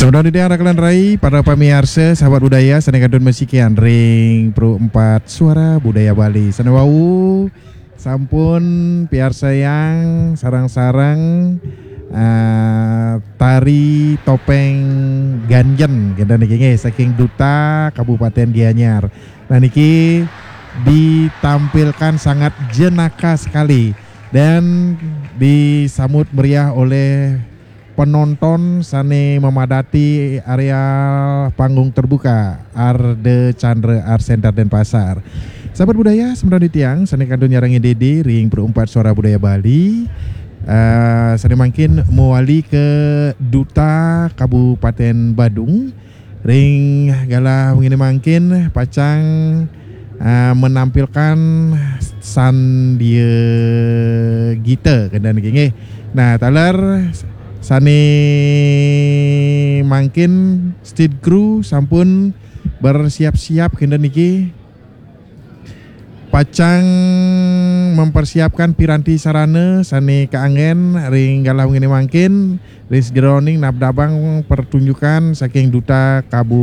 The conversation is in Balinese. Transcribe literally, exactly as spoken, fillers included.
Tepang dadi rakan rai, para pamiarsa, sahabat budaya, sane kantun masikian ring Pro empat Suara Budaya Bali. Sane wau sampun piarsayang sareng-sareng, eh, tari topeng ganjen, kenten niki nggih, saking Duta Kabupaten Gianyar. Nah, niki ditampilkan sangat jenaka sekali dan disambut meriah oleh penonton sane memadati areal panggung terbuka Arde Chandra Art Center Denpasar. Sahabat budaya, semeton titiang sane kantun nyarengin dede ring Pro empat Suara Budaya Bali. Eh, sane mangkin mawali ke Duta Kabupaten Badung. Ring galah wengi mangkin pacang, eh, menampilkan Sandia Gita kenten niki nggih. Nah, taler sane mangkin stage crew sampun bersiap-siap kenten niki pacang mempersiapkan piranti sarana sane kaanggen ring galah wengi mangkin ring sajeroning nabdabang pertunjukan saking Duta Kabupaten